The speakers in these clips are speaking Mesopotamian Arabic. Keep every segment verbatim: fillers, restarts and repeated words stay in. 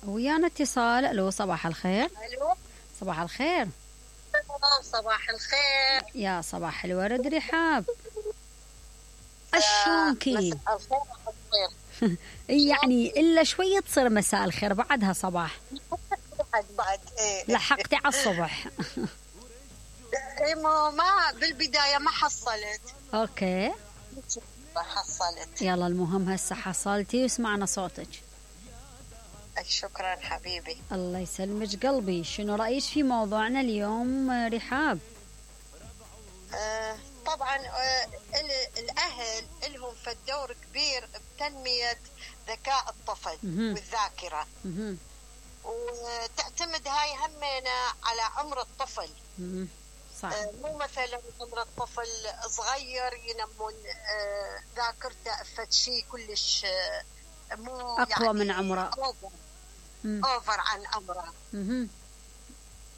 ويانا اتصال. الو صباح الخير. الو صباح الخير. صباح الخير. يا صباح الورد رحاب. اشلونكي؟ مساء الخير. يعني الا شويه تصير مساء الخير، بعدها صباح. بعد بعد ايه لحقتي على الصبح. ايه ما ما بالبدايه ما حصلت. اوكي ما حصلت. يلا المهم هسه حصلتي وسمعنا صوتك. شكرا حبيبي. الله يسلمك قلبي. شنو رأيك في موضوعنا اليوم رحاب؟ آه طبعا آه الأهل لهم في الدور كبير بتنمية ذكاء الطفل مهم. والذاكرة. مهم. وتعتمد هاي همينة على عمر الطفل. مهم. صح. آه مو مثلا عمر الطفل صغير ينمون آه ذاكرته فد شيء كلش آه مو أقوى يعني من عمره. أوفر, أوفر عن عمره. مهم.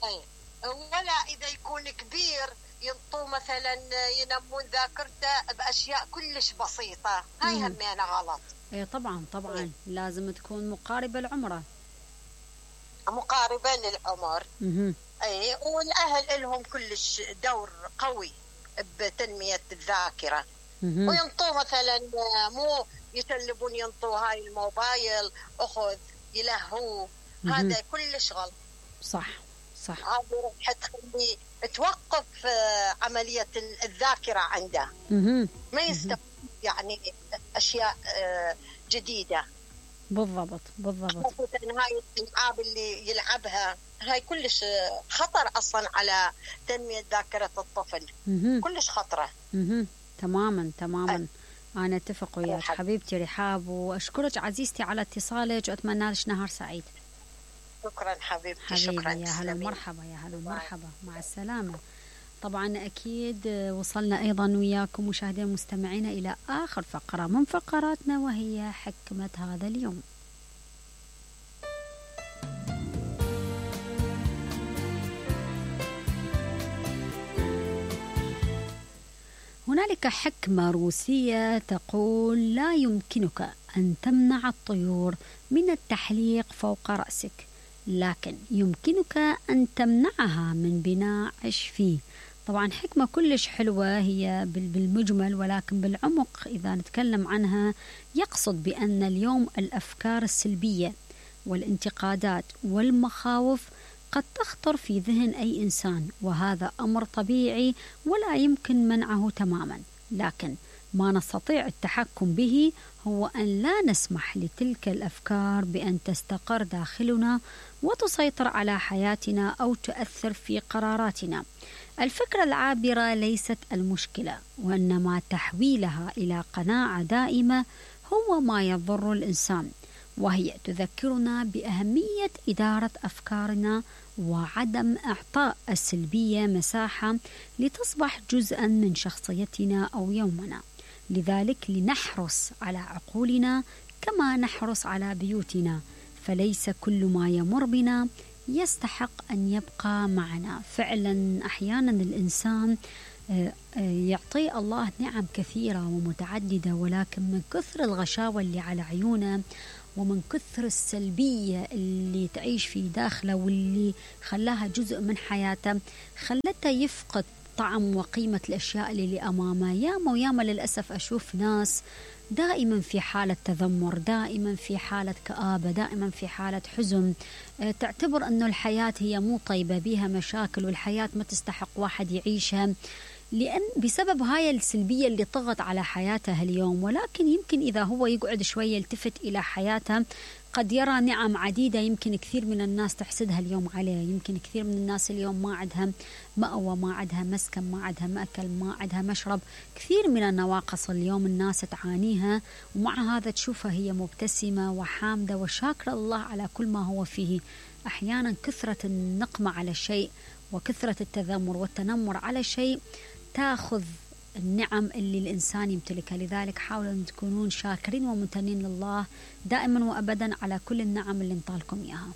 أي. ولا إذا يكون كبير ينطوا مثلا ينمون ذاكرته بأشياء كلش بسيطة. هاي همينة غلط. ايه طبعا طبعا. أي. لازم تكون مقاربة لعمره. مقاربة للعمر. مهم. اي. والأهل لهم كلش دور قوي بتنمية الذاكرة. مهم. وينطوا مثلا مو يسلبون ينطوا هاي الموبايل أخذ يلهوا. هذا كلش غلط. صح صح. هذا راح تخلي توقف عملية الذاكرة عنده. مهم. ما يستوعب يعني أشياء جديدة. بالضبط بالضبط. هاي الألعاب اللي يلعبها هاي كلش خطر أصلا على تنمية ذاكرة الطفل. مهم. كلش خطرة. مهم. تماما تماما. أه. أنا أتفق وياك حبيبتي رحاب، وأشكرك عزيزتي على اتصالك وأتمنى لك نهار سعيد. شكرا حبيبتي. حبيبي شكرا. يا هلا ومرحبا. يا هلا ومرحبا. مع السلامة. طبعا أكيد وصلنا أيضا وياكم مشاهدينا المستمعين إلى آخر فقرة من فقراتنا، وهي حكمة هذا اليوم. هنالك حكمة روسية تقول: لا يمكنك أن تمنع الطيور من التحليق فوق رأسك، لكن يمكنك أن تمنعها من بناء عش فيه. طبعا حكمة كلش حلوة هي بالمجمل، ولكن بالعمق إذا نتكلم عنها يقصد بأن اليوم الأفكار السلبية والانتقادات والمخاوف قد تخطر في ذهن أي إنسان، وهذا أمر طبيعي ولا يمكن منعه تماما، لكن ما نستطيع التحكم به هو أن لا نسمح لتلك الأفكار بأن تستقر داخلنا وتسيطر على حياتنا أو تؤثر في قراراتنا. الفكرة العابرة ليست المشكلة، وإنما تحويلها إلى قناعة دائمة هو ما يضر الإنسان، وهي تذكرنا بأهمية إدارة أفكارنا وعدم إعطاء السلبية مساحة لتصبح جزءا من شخصيتنا أو يومنا. لذلك لنحرص على عقولنا كما نحرص على بيوتنا، فليس كل ما يمر بنا يستحق أن يبقى معنا. فعلا أحيانا الإنسان يعطي الله نعم كثيرة ومتعددة، ولكن من كثر الغشاوة اللي على عيونه ومن كثر السلبية اللي تعيش في داخله واللي خلاها جزء من حياته خلته يفقد طعم وقيمة الأشياء اللي أمامه. ياما وياما للأسف أشوف ناس دائما في حالة تذمر، دائما في حالة كآبة، دائما في حالة حزن، تعتبر أنه الحياة هي مو طيبة، بيها مشاكل، والحياة ما تستحق واحد يعيشها، لأن بسبب هاي السلبية اللي طغت على حياته اليوم. ولكن يمكن إذا هو يقعد شوية يلتفت إلى حياته قد يرى نعم عديدة يمكن كثير من الناس تحسدها اليوم عليه. يمكن كثير من الناس اليوم ما عندها مأوى، ما عندها مسكن، ما عندها مأكل، ما عندها مشرب. كثير من النواقص اليوم الناس تعانيها، ومع هذا تشوفها هي مبتسمة وحامدة وشاكرة الله على كل ما هو فيه. أحيانا كثرة النقمة على شيء وكثرة التذمر والتنمر على شيء تأخذ النعم اللي الإنسان يمتلكها. لذلك حاولوا أن تكونون شاكرين وممتنين لله دائما وأبدا على كل النعم اللي انطالكم إياها.